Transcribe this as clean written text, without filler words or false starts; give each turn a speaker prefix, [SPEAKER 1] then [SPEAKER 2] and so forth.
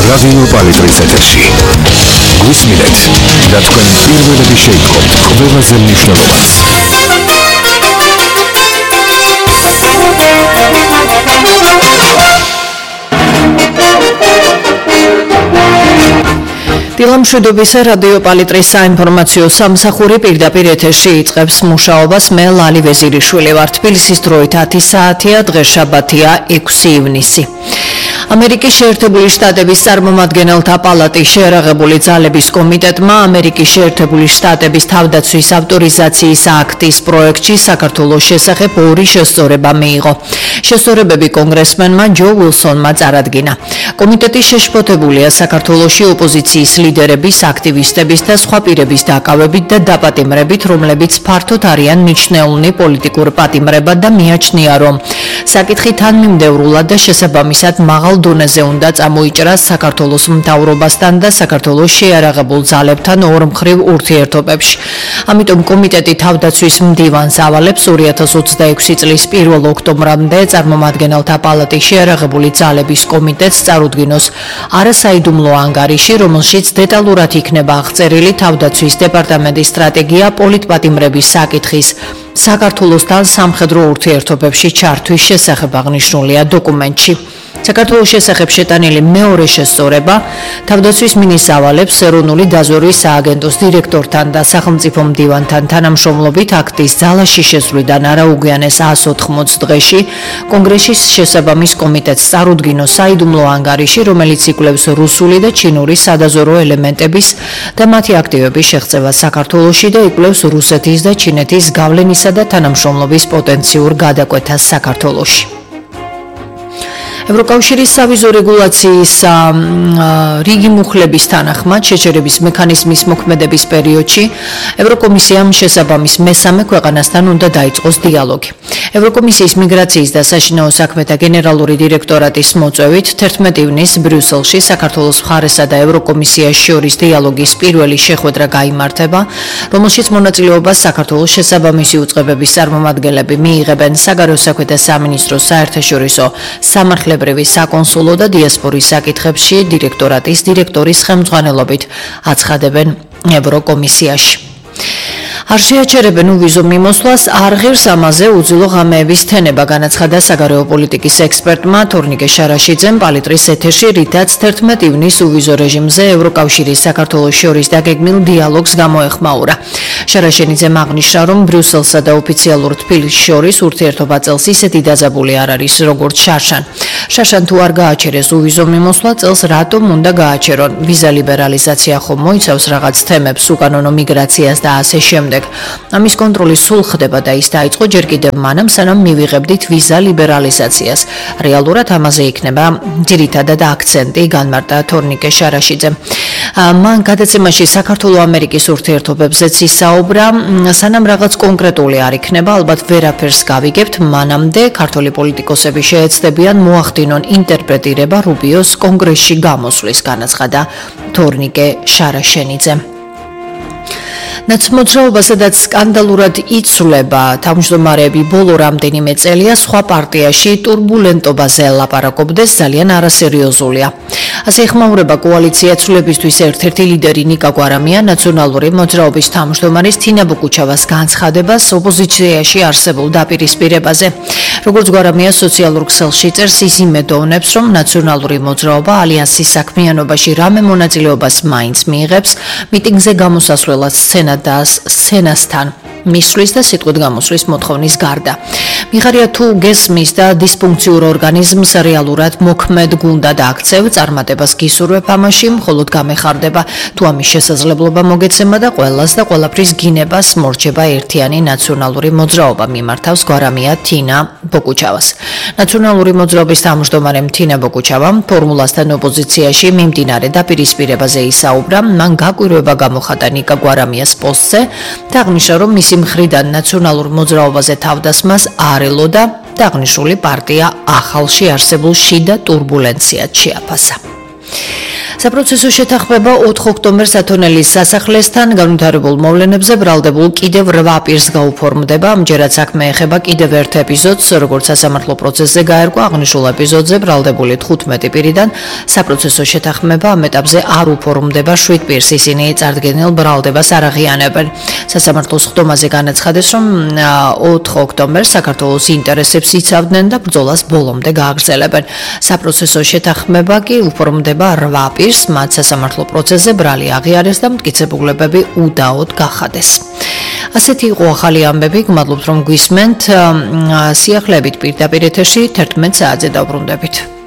[SPEAKER 1] რადიო პალიტრის ეთერში. გვისმინეთ და თქვენ პირველები შეიტყობთ ყველაზე მნიშვნელოვანს.
[SPEAKER 2] დილამშვიდობისა რადიო პალიტრის საინფორმაციო სამსახური პირდაპირ ეთერში იწყებს მუშაობას. მე ლალი ვეზირიშვილი ვარ. თბილისის დროით 10 საათია, დღეს შაბათია 6 ივნისი. ამერიკის შეერთებული შტატების წარმომადგენელთა პალატის შეერაღებული ძალების კომიტეტმა ამერიკის შეერთებული შტატების თავდაცვის ავტორიზაციის აქტის პროექტში საქართველოს შესახებ ორი შესწორება მიიღო. შესწორებები კონგრესმენმა ჯო უილსონმა წარადგინა. კომიტეტი შეშფოთებულია საქართველოში ოპოზიციის ლიდერების, აქტივისტების და სხვა პირების დაკავებით და დაპატიმრებით, რომლებიც ფართოდ არიან მიჩნეული პოლიტიკურ პატიმრებად და მიაჩნია, რომ საკითხი თანმიმდევრულად და შესაბამისად მაღალ დონეზე უნდა წამოიჭრას საქართველოს მთავრობასთან და საქართველოს შეიარაღებულ ძალებთან ორმხრივ ურთიერთობებში. ამიტომ კომიტეტი თავდაცვის მდივანს ავალებს 2026 წლის 1 ოქტომბრამდე წარმომადგენელთა პალატის შეიარაღებული ძალების კომიტეტს წარუდგინოს არასაიდუმლო ანგარიში, რომელშიც დეტალურად იქნება აღწერილი თავდაცვის დეპარტამენტის სტრატეგია პოლიტპატიმრების საკითხის საქართველოსთან სამხედრო ურთიერთობებში ჩართვის შესახებ აღნიშნულია დოკუმენტში. საქართველოს შესახებ შეტანილი მეორე შესწორება თავდაცვის მინისტრს ავალებს ეროვნული დაზვერვის სააგენტოს დირექტორთან და სახელმწიფო მდივანთან თანამშრომლობით აქტის ძალაში შესვლიდან არაუგვიანეს 180 დღეში კონგრესის შესაბამის კომიტეტს წარუდგინოს საიდუმლო ანგარიში, რომელიც იკვლევს რუსული და ჩინური სადაზვერვო ელემენტების და მათი აქტივების შეღწევას საქართველოში და იკვლევს რუსეთის და ჩინეთის გავლენისა და თანამშრომლობის პოტენციურ გადაკვეთას საქართველოში. ევროკავშირის სავიზო რეგულაციის რიგი მუხლების თანახმად შეჩერების მექანიზმის მოქმედების პერიოდში ევროკომისიამ შესაბამის მესამე ქვეყანასთან უნდა დაიწყოს დიალოგი. ევროკომისიის მიგრაციის და საშინაო საქმეთა გენერალური დირექტორატის მოწვევით 11 ივნისს ბრიუსელში საქართველოს მხარესა და ევროკომისიას შორის დიალოგის პირველი შეხვედრა გაიმართება, რომელშიც მონაწილეობას საქართველოს შესაბამისი უწყებების წარმომადგენლები მიიღებენ. საგარეო საქმეთა სამინისტროს საერთაშორისო სამართლებრივი საკონსულო და დიასპორის საკითხებში დირექტორატის დირექტორის ხელმძღვანელობით აცხადებენ ევროკომისიაში. არ შეაჩერებენ უვიზო მიმოსვლას, არ ღირს ამაზე უძილო ღამეების თენება, განაცხადა საგარეო პოლიტიკის ექსპერტმა თორნიკე შარაშიძემ პალიტრის ეთერში, რითაც 11 ივნისს უვიზო რეჟიმზე ევროკავშირის საქართველოს შორის დაგეგმილ დიალოგს გამოეხმაურა. შარაშიძემ აღნიშნა, რომ ბრიუსელსა და ოფიციალურ თბილისს შორის ურთიერთობა წელს ისეთი დაძაბული არ არის, როგორც შარშან. შარშან თუ არ გააჩერეს უვიზო მიმოსვლა, წელს რატომ უნდა გააჩერონ? ვიზა ლიბერალიზაცია ხომ მოიცავს რაღაც თემებს, უკანონო მიგრაციას და ასე შემდეგ. ამის კონტროლი სულ ხდება და ის დაიწყო ჯერ კიდევ მანამ, სანამ მივიღებდით ვიზა ლიბერალიზაციას. რეალურად ამაზე იქნება ძირითადად აქცენტი, განმარტა თორნიკე შარაშიძემ. მან გადაცემაში საქართველო-ამერიკის ურთიერთობებზეც ისაუბრა, სანამ რაღაც კონკრეტული არ იქნება, ალბათ ვერაფერს გავიგებთ, მანამდე ქართული პოლიტიკოსები შეეცდებიან მოახდინონ ინტერპრეტირება რუბიოს კონგრესში გამოსვლის, განაცხადა თორნიკე შარაშიძემ. ნაცმოძრაობა, სადაც სკანდალურად იცვლება თავმჯდომარეები ბოლო რამდენიმე წელია, სხვა პარტიაში ტურბულენტობაზე ლაპარაკობდეს ძალიან არასერიოზულია. ასე იხმაურება კოალიცია ცვლილებისთვის ერთ-ერთი ლიდერი ნიკა გვარამია ნაციონალური მოძრაობის თავმჯდომარის თინა ბუკუჩავას განცხადებას ოპოზიციაში არსებულ დაპირისპირებაზე. როგორც გვარამია სოციალურ ქსელში წერს, ის იმედოვნებს, რომ ნაციონალური მოძრაობა ალიანსის საქმიანობაში რამე მონაწილეობას მაინც მიიღებს, მიტინგზე გამოსასვლელად სცენასთან მისვლის და სიტყვით გამოსვლის მოთხოვნის გარდა. მიხარია თუ გესმის და დისფუნქციურ ორგანიზმს რეალურად მოქმედ გუნდად აქცევ, წარმატებას გისურვებ ამაში, მხოლოდ გამეხარდება თუ ამის შესაძლებლობა მოგეცემა და ყველას და ყველაფრის გინებას მორჩება ერთიანი ნაციონალური მოძრაობა, მიმართავს გვარამია თინა ბოკუჩავას. ნაციონალური მოძრაობის თავმჯდომარე თინა ბოკუჩავამ ფორმულასთან ოპოზიციაში მიმდინარე დაპირისპირებაზე ისაუბრა, მან გაკვირვება გამოხატა ნიკა გვარამიას პოსტზე და აღნიშნა, რომ მისი მხრიდან ნაციონალურ მოძრაობაზე თავდასხმას არ ელოდა და აღნიშნული პარტია ახალში არსებულ შიდა ტურბულენციად შეაფასა. საპროცესო შეთანხმება 4 ოქტომბერს ათონელის სასახლესთან განვითარებულ მოვლენებზე ბრალდებულ კიდევ 8 პირს გაუფორმდება. ამჯერად საქმე ეხება კიდევ ერთ ეპიზოდს, როგორც სასამართლო პროცესზე გაერკვა. აღნიშნულ ეპიზოდზე ბრალდებული 15 პირიდან საპროცესო შეთანხმება ამ ეტაპზე არ უფორმდება 7 პირს. ისინი წარდგენილ ბრალდებას არ აღიანებენ. სასამართლოს ხდომაზე განაცხადეს, რომ 4 ოქტომბერს საქართველოს ინტერესებს იცავდნენ და ბრძოლას ბოლომდე გააგრძელებენ. საპროცესო შეთანხმება კი უფორმდება 8 პირს, მათ სასამართლო პროცესზე ბრალი აღიარეს და მტკიცებულებები უდაოდ გახადეს. ასეთი იყო ახალი ამბები. გმადლობთ რომ გვისმენთ. სიახლეებით პირდაპირ ეთერში 11 საათზე დავბრუნდებით.